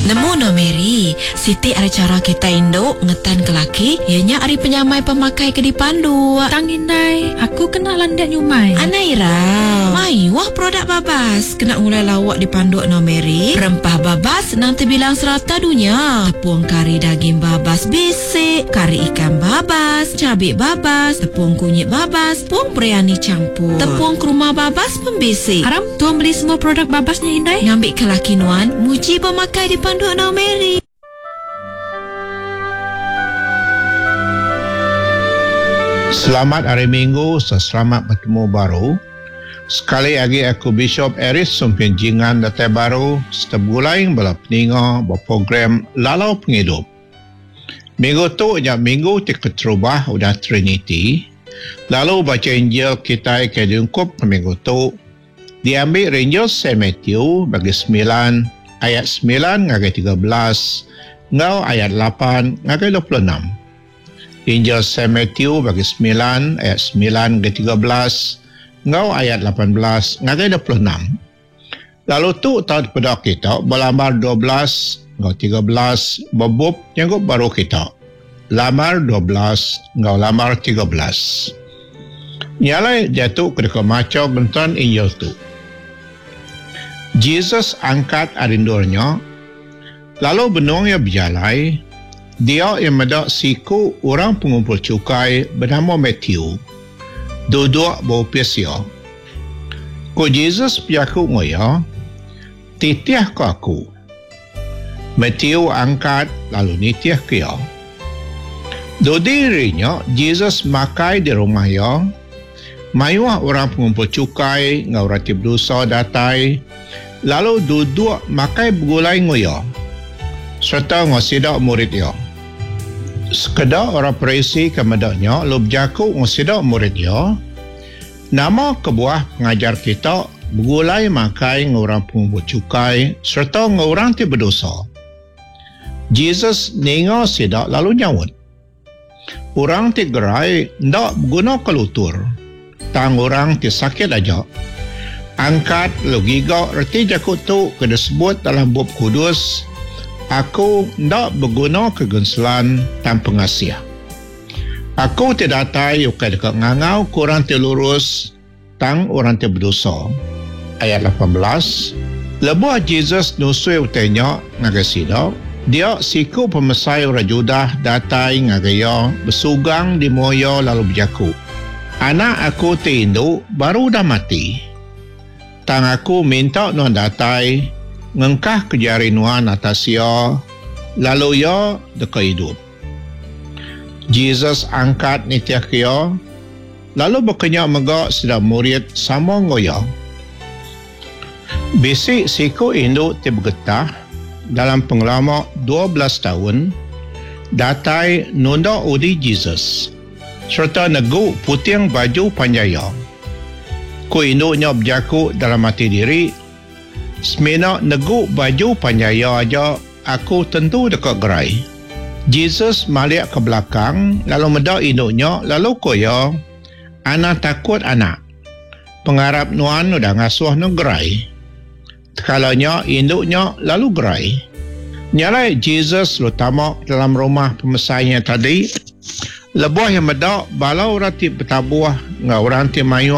Nemu no Mary, siti ari chara kitai indu ngetanka laki iya nya ari penyamai pemakai ke dipanduk. Tang indai, aku kena landik nyumai. Anai irau. Mayuh produk babas kena ngulai lauk dipanduk no Mary. Rempah babas nang tebilang serata dunya. Tepung kari daging babas bisi, kari ikan babas, cabi babas, tepung kunyit babas, tepung biryani champur, tepung kurma babas pun bisi. Aram, tua meli semua produk babas nya indai. Ngambika laki nuan muji pemakai dipanduk enggau Mary. Selamat Hari Minggu serta selamat betemu baru. Sekali agi aku Bishop Aris Sumpin Jingan datai baru serta begulai enggau bala peninga ba program Lalau Pengidup. Minggu tu nya minggu ti keterubah udah Triniti, lalu bacha Injil kitai ke diungkupka minggu tu diambi ari Injil Saint Matthew bagi semilan ayat semilan ngagai 13 enggau ayat lapan ngagai 26. Injil Saint Matthew bagi semilan ayat semilan ngagai 13 enggau ayat 18 ngagai 26. Lalu tu tau dipeda kita ba lambar 12 enggau 13 ba bup Nyanggup Baru kita. Lambar 12 enggau lambar 13. Nya alai diatu ke deka macha genteran Injil tu. Jesus angkat ari endur nya, lalu benung iya bejalai, dia iya meda siku orang pengumpul chukai benama Matthew duduk ba opis iya. Ku Jesus bejaku enggau iya, Titihka aku. Matthew angkat lalu nitihka iya. Dudi hari nya, Jesus makai di rumah iya. Mayuh orang pengumpul chukai enggau orang ti bedosa datai lalu duduk makai begulai enggau iya sereta enggau sida murid iya. Sekeda orang Parisi ke meda nya lalu bejaku enggau sida murid iya, Nama kebuah pengajar kita begulai makai enggau orang pengumpul chukai sereta enggau orang ti bedosa? Jesus ninga sida lalu nyaut, Orang ti gerai enda begunaka lutur, tang orang ti sakit aja. Angkat lalu giga reti jaku tu ke disebut dalam Bup Kudus, Aku enda begunaka genselan tang pengasih. Aku ti datai ukai deka ngangauka orang ti lurus, tang orang ti bedosa. Ayat 18, Lebuh Jesus nusui utai nya ngagai sida, dia siku pemesai orang Judah datai ngagai iya besugang di mua iya lalu bejaku, Anak aku ti indu baru udah mati. Tang aku minta nuan datai ngengkahka jari nuan atas iya, lalu iya deka idup. Jesus angkat nitihka iya, lalu baka nya mega sida murid sama enggau iya. Bisi siku indu ti begetah dalam pengelama 12 taun datai nunda udi Jesus sereta negu puting baju panjai iya. Ku indu nya bejaku dalam ati diri, Semina negu baju panjai iya aja, Aku tentu deka gerai. Jesus malik ke belakang lalu meda indu nya lalu ku iya, Anang takut anak. Pengarap nuan udah ngasuh nuan gerai. Tekala nya indu nya lalu gerai. Nya alai Jesus lalu tama dalam rumah pemesai nya tadi. Lebuh iya meda bala orang ti betabuh enggau orang ti mayuh.